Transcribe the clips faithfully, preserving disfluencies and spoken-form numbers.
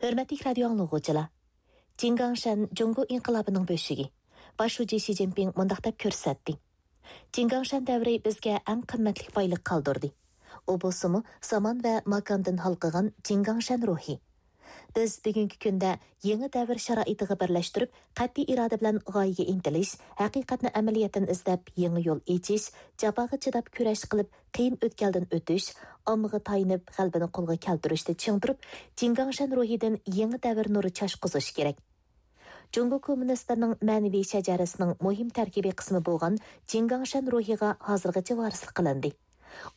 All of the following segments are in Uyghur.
ھۆرمەتلىك رادىيو ئاڭلىغۇچىلار! جىڭگاڭشەن جۇڭگو ئىنقىلابىنىڭ بۆشۈكى. باش شۇجى شى جىنپىڭ مۇنداق دەپ كۆرسەتتى: جىڭگاڭشەن دەۋرى بىزگە ئەڭ قىممەتلىك بايلىق قالدۇردى. ئۇ بولسىمۇ زامان ۋە ماكاندىن ھالقىغان جىڭگاڭشەن روھى. بىز بۈگۈنكى كۈندە يېڭى دەۋر شارائىتىغا بىرلەشتۈرۈپ، قەتئىي ئىرادە بىلەن غايىگە ئىنتىلىش، ھەقىقەتنى ئەمەلىيەتتىن ئىزدەپ يېڭى يول ئېچىش، جاپاغا چىداپ كۈرەش قىلىپ، قىيىن ئۆتكەلدىن ئۆتۈش، ئاممىغا تايىنىپ غەلىبىنى قولغا كەلتۈرۈشتە چىڭ تۇرۇپ، جىڭگاڭشەن روھىدىن يېڭى دەۋر نۇرى چاچقۇزۇش كېرەك. جۇڭگو كوممۇنىستلىرىنىڭ مەنىۋى شەجەرىسىنىڭ مۇھىم تەركىبىي قىسمى بولغان جىڭگاڭشەن روھىغا ھازىرغىچە ۋارىسلىق قىلىندى.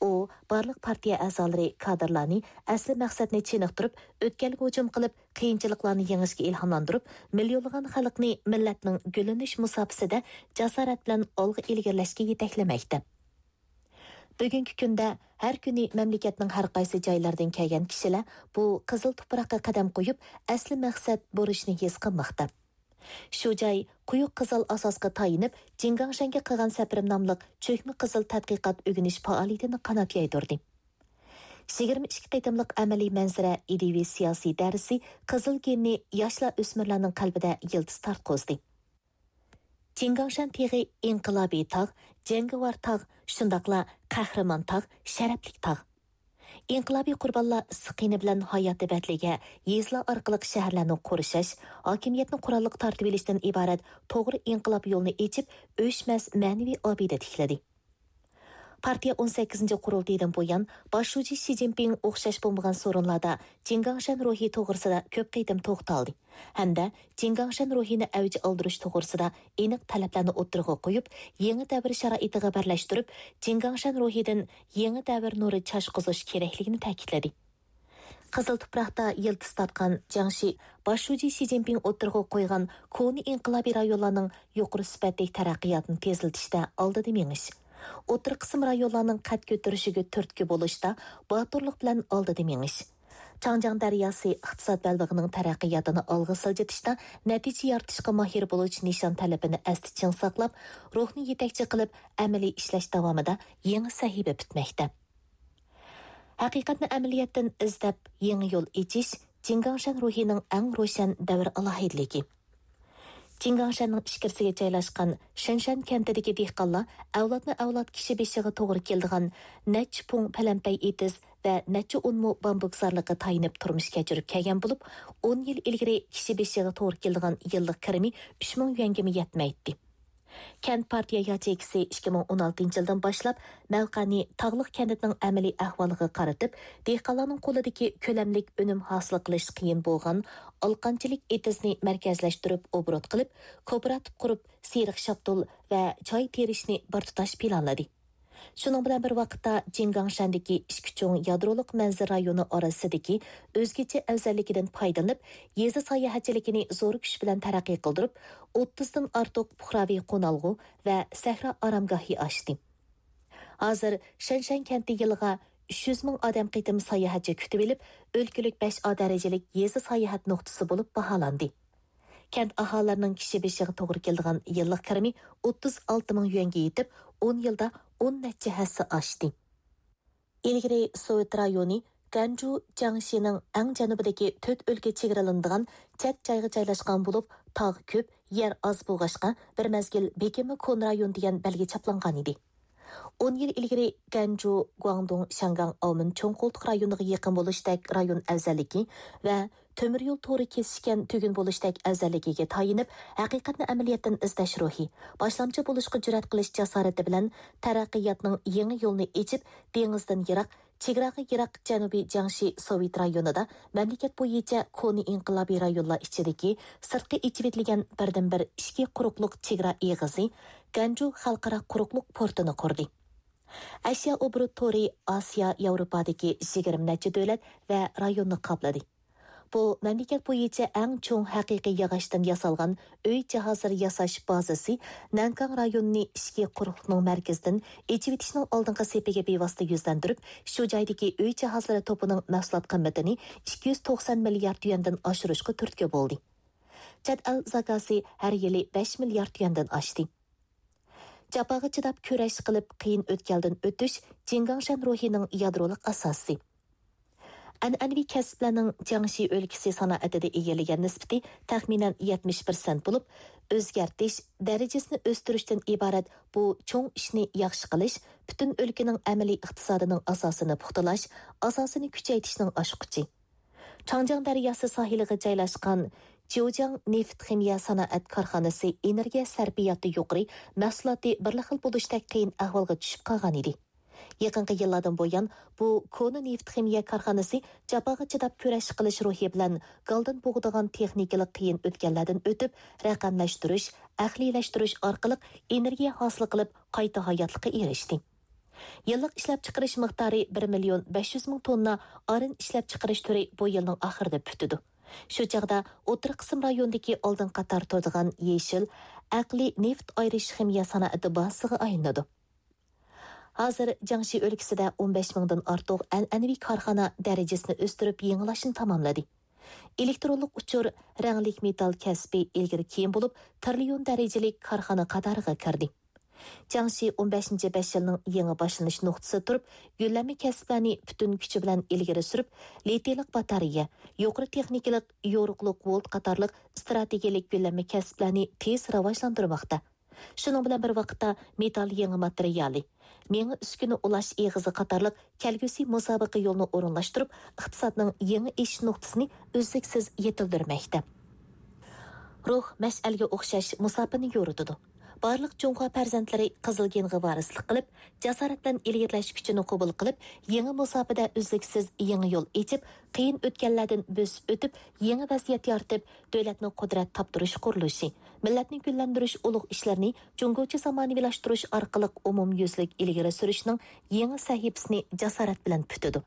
ئۇ بارلىق پارتىيە ئەزالىرى، كادىرلارنى ئەسلى مەقسەتنى چېنىقتۇرۇپ، ئۆتكەلگە ھۇجۇم قىلىپ، قىيىنچىلىقلارنى يېڭىشكە ئىلھاملاندۇرۇپ، مىليونلىغان خەلقنى مىللەتنىڭ گۈللىنىش مۇساپىسىدە جاسارەت بىلەن ئالغا ئىلگىرىلەشكە يېتەكلىمەكتە. بۈگۈنكى كۈندە ھەر كۈنى مەملىكەتنىڭ ھەر قايسى جايلىرىدىن كەلگەن كىشىلەر بۇ قىزىل تۇپراققا قەدەم قويۇپ، ئەسلى مەقسەت بۇرچنى ھېس قىلماقتا. شۇ جاي قويۇق قىزىل ئاساسقا تايىنىپ، جىڭگاڭشەنگە قىلغان سەپىرىم ناملىق چۆكمە قىزىل تەتقىقات ئۆگىنىش پائالىيىتىنى قانات يايدۇردى. يىگىرمە ئىككى قېتىملىق ئەمەلىي مەنزىرە ئىدىيىۋى سىياسىي دەرسى قىزىل گېننى ياشلار، ئۆسمۈرلەرنىڭ قەلبىدە يىلتىز تارتقۇزدى. جىڭگاڭشەن تېغى ئىنقىلابىي تاغ، جەڭگىۋار تاغ، شۇنداقلا قەھرىمان تاغ، شەرەپلىك تاغ. ئىنقىلابىي قۇربانلار ئىسسىق قېنى بىلەن ھاياتى بەدىلىگە يېزىلار ئارقىلىق شەھەرلەرنى قورشاش، ھاكىمىيەتنى قوراللىق تارتىۋېلىشتىن ئىبارەت توغرا ئىنقىلاب يولىنى ئېچىپ، ئۆچمەس مەنىۋى ئابىدە تىكلىدى. پارتىيە ئون سەككىزىنچى قۇرۇلتىيىدىن بۇيان، باش شۇجى شى جىنپىڭ ئوخشاش بولمىغان سورۇنلاردا جىڭگاڭشەن روھى توغرىسىدا كۆپ قېتىم توختالدى ھەمدە جىڭگاڭشەن روھىنى ئەۋج ئالدۇرۇش توغرىسىدا ئېنىق تەلەپلەرنى ئوتتۇرىغا قويۇپ، يېڭى دەۋر شارائىتىغا بىرلەشتۈرۈپ، جىڭگاڭشەن روھىدىن يېڭى دەۋر نۇرى چاچقۇزۇش كېرەكلىكىنى تەكىتلىدى. قىزىل تۇپراقتا يىلتىز تارتقان جياڭشى باش شۇجى شى جىنپىڭ ئوتتۇرىغا قويغان كونا ئىنقىلابىي رايونلارنىڭ يۇقىرى سۈپەتلىك تەرەققىياتىنى تېزلىتىشتە ئالدىدا مېڭىش، ئوتتۇرا قىسىم رايونلارنىڭ قەد كۆتۈرۈشىگە تۈرتكە بولۇشتا باتۇرلۇق بىلەن ئالدىدا مېڭىش، چاڭجياڭ دەرياسى ئىقتىساد بەلبېغىنىڭ تەرەققىياتىنى ئالغا سىلجىتىشتا نەتىجە يارىتىشقا ماھىر بولۇش نىشان تەلىپىنى ئەستە چىڭ ساقلاپ، روھنى يېتەكچى قىلىپ ئەمەلىي ئىشلەش داۋامىدا يېڭى سەھىپە پۈتمەكتە. ھەقىقەتنى ئەمەلىيەتتىن ئىزدەپ، يېڭى يول ئېچىش جىڭگاڭشەن روھىنىڭ ئەڭ روشەن دەۋر ئالاھىدىلىكى. جىڭگاڭشەننىڭ ئىچكىرىسىگە جايلاشقان شېنشەن كەنتىدىكى دېھقانلار ئەۋلادمۇ ئەۋلاد كىشى بېشىغا توغرا كېلىدىغان نەچچە پۇڭ پەلەمپەي ئېتىز ۋە نەچچە ئون مو بامبۇك زارلىققا تايىنىپ تۇرمۇش كەچۈرۈپ كەلگەن بولۇپ، ئون يىل ئىلگىرى كىشى بېشىغا توغرا كېلىدىغان يىللىق كىرىمى ئۈچ مىڭ يۈەنگىمۇ يەتمەيتتى. كەنت پارتىيە ياچېيكىسى ئىككى مىڭ ئون ئالتىنچى يىلدىن باشلاپ مەۋقەنى تاغلىق كەنتنىڭ ئەمەلىي ئەھۋالىغا قارىتىپ، دېھقانلارنىڭ قولىدىكى كۆلەملىك ئۈنۈم ھاسىل قىلىش قىيىن بولغان ئالقانچىلىك ئېتىزنى مەركەزلەشتۈرۈپ ئوبوروت قىلىپ، كوپىراتىپ قۇرۇپ، سېرىق شاپتۇل ۋە چاي تېرىشنى بىر تۇتاش پىلانلىدى. شۇنىڭ بىلەن بىر ۋاقىتتا، جىڭگاڭشەندىكى ئىككى چوڭ يادرولۇق مەنزىرە رايونى ئارىسىدىكى ئۆزگىچە ئەۋزەللىكىدىن پايدىلىنىپ، يېزا ساياھەتچىلىكىنى زور كۈچ بىلەن تەرەققىي قىلدۇرۇپ، ئوتتۇزدىن ئارتۇق پۇقراۋى قونالغۇ ۋە سەھرا ئارامگاھى ئاچتى. ھازىر شەنشەن كەنتى يىلىغا ئۈچ يۈز مىڭ ئادەم قېتىم ساياھەتچى كۈتۈۋېلىپ، ئۆلكىلىك بەش ئا دەرىجىلىك يېزا ساياھەت نۇقتىسى بولۇپ باھالاندى. كەنت ئاھالىلىرىنىڭ كىشى بېشىغا توغرا كېلىدىغان يىللىق كىرىمى ئوتتۇز ئالتە مىڭ يۈەنگە يېتىپ، ئون يىلدا ئون نەچچە ھەسسە ئاشتى. ئىلگىرى سوۋېت رايونى گەنجۇ جياڭشىنىڭ ئەڭ جەنۇبىدىكى تۆت ئۆلكە چېگرىلىنىدىغان چەت جايغا جايلاشقان بولۇپ، تاغ كۆپ، يەر ئاز بولغاچقا، بىر مەزگىل بېكىنمە كونا رايون دېگەن بەلگە چاپلانغانىدى. ئون يىل ئىلگىرى گەنجۇ، گۇاڭدۇڭ، شياڭگاڭ، ئاۋمېن چوڭ قولتۇق رايونىغا يېقىن بولۇشتەك رايون ئەۋزەللىكى ۋە تۆمۈر يول تورى كېسىشكەن تۈگۈن بولۇشتەك ئەۋزەللىكىگە تايىنىپ، ھەقىقەتنى ئەمەلىيەتتىن ئىزدەش روھى، باشلامچى بولۇشقا جۈرئەت قىلىش جاسارىتى بىلەن تەرەققىياتنىڭ يېڭى يولىنى ئېچىپ، دېڭىزدىن يىراق، چېگراغا يىراق جەنۇبىي جياڭشى سوۋېت رايونىدا مەملىكەت بويىچە كونا ئىنقىلابىي رايونلار ئىچىدىكى سىرتقا ئېچىۋېتىلگەن بىردىنبىر ئىچكى قۇرۇقلۇق چېگرا ئېغىزى گەنجۇ خەلقئارا قۇرۇقلۇق پورتىنى قۇردى. ئەشيا ئوبوروت تورى ئاسىيا، ياۋروپادىكى يىگىرمە نەچچە دۆلەت ۋە رايوننى قاپلىدى. بۇ مەملىكەت بويىچە ئەڭ چوڭ ھەقىقىي ياغاچتىن ياسالغان ئۆي جاھازلىرى ياساش بازىسى نەنكاڭ رايونىنى ئىچكى قۇرۇقلۇقنىڭ مەركىزىدىن ئېچىۋېتىشنىڭ ئالدىنقى سېپىگە بىۋاسىتە يۈزلەندۈرۈپ، شۇ جايدىكى ئۆي جاھازلىرى توپىنىڭ مەھسۇلات قىممىتىنى ئىككى يۈز توقسان مىليارد يۈەندىن ئاشۇرۇشقا تۈرتكە بولدى. چەت ئەل زاكازى ھەر يىلى بەش مىليارد يۈەندىن ئاشتى. جاپاغا چىداپ كۈرەش قىلىپ، قىيىن ئۆتكەلدىن ئۆتۈش جىڭگاڭشەن روھىنىڭ يادرولۇق ئاساسى. ئەنئەنىۋى كەسىپلەرنىڭ جياڭشى ئۆلكىسى سانائىتىدە ئىگىلىگەن نىسبىتى تەخمىنەن يەتمىش پىرسەنت بولۇپ، ئۆزگەرتىش، دەرىجىسىنى ئۆستۈرۈشتىن ئىبارەت بۇ چوڭ ئىشنى ياخشى قىلىش پۈتۈن ئۆلكىنىڭ ئەمەلىي ئىقتىسادىنىڭ ئاساسىنى پۇختىلاش، ئاساسىنى كۈچەيتىشنىڭ ئاچقۇچى. چاڭجياڭ دەرياسى ساھىلىغا جايلاشقان جيۇجياڭ نېفىت خىمىيە سانائەت كارخانىسى ئېنېرگىيە سەرپىياتى يۇقىرى، مەھسۇلاتى بىرلا خىل بولۇشتەك قىيىن ئەھۋالغا چۈشۈپ قالغان ئىدى. يېقىنقى يىللاردىن بۇيان، بۇ كونا نېفىت خىمىيە كارخانىسى جاپاغا چىداپ كۈرەش قىلىش روھى بىلەن گالدىن بوغىدىغان تېخنىكىلىق قىيىن ئۆتكەللەردىن ئۆتۈپ، رەقەملەشتۈرۈش، ئەقلىيلەشتۈرۈش ئارقىلىق ئېنېرگىيە ھاسىل قىلىپ، قايتا ھاياتلىققا ئېرىشتى. يىللىق ئىشلەپچىقىرىش مىقدارى بىر مىليون بەش يۈز مىڭ توننا ئارىن ئىشلەپچىقىرىش تۈرى بۇ يىلنىڭ ئاخىرىدا پۈتىدۇ. شۇ چاغدا ئوتتۇرا قىسىم رايونىدىكى ئالدىنقى قاتار تۇرىدىغان يېشىل، ئەقلىي نېفىت ئايرىش خىمىيە سانائىتى بازىسىغا ئايلىنىدۇ. ھازىر جياڭشى ئۆلكىسىدە ئون بەش مىڭدىن ئارتۇق ئەنئەنىۋى كارخانا دەرىجىسىنى ئۆستۈرۈپ يېڭىلاشنى تاماملىدى. ئېلېكترونلۇق ئۇچۇر، رەڭلىك مېتال كەسپى ئىلگىرى كېيىن بولۇپ، تىرىليون دەرىجىلىك كارخانا قاتارىغا كىردى. جياڭشى ئون بەشىنچى بەش يىلنىڭ يېڭى باشلىنىش نۇقتىسىدا تۇرۇپ، يۆلەنمە كەسىپلەرنى پۈتۈن كۈچى بىلەن ئىلگىرى سۈرۈپ، لىتىيلىق باتارېيە، يۇقىرى تېخنىكىلىق يورۇقلۇق ۋولت قاتارلىق ئىستراتېگىيەلىك يۆلەنمە كەسىپلەرنى تېز راۋاجلاندۇرماقتا. شۇنىڭ بىلەن بىر ۋاقىتتا، مېتال يېڭى ماتېرىيالى، مېڭە ئۈسكۈنە ئۇلاش ئېغىزى قاتارلىق كەلگۈسى مۇسابىقە يولىنى ئورۇنلاشتۇرۇپ، ئىقتىسادنىڭ يېڭى ئېشىش نۇقتىسىنى ئۈزلۈكسىز يېتىلدۈرمەكتە. روھ مەشئەلگە ئوخشاش مۇساپىنى يورۇتىدۇ. بارلىق جۇڭخۇا پەرزەنتلىرى قىزىل گېنغا ۋارىسلىق قىلىپ، جاسارەت بىلەن ئىلگىرىلەش كۈچىنى قوبۇل قىلىپ، يېڭى مۇساپىدە ئۈزلۈكسىز يېڭى يول ئېچىپ، قىيىن ئۆتكەللەردىن بۆسۈپ ئۆتۈپ، يېڭى ۋەزىيەت يارىتىپ، دۆلەتنى قۇدرەت تاپتۇرۇش قۇرۇلۇشى، مىللەتنى گۈللەندۈرۈش ئۇلۇغ ئىشلىرىنى جۇڭگوچە زامانىۋىلاشتۇرۇش ئارقىلىق ئومۇميۈزلۈك ئىلگىرى سۈرۈشنىڭ يېڭى سەھىپىسىنى جاسارەت بىلەن پۈتىدۇ.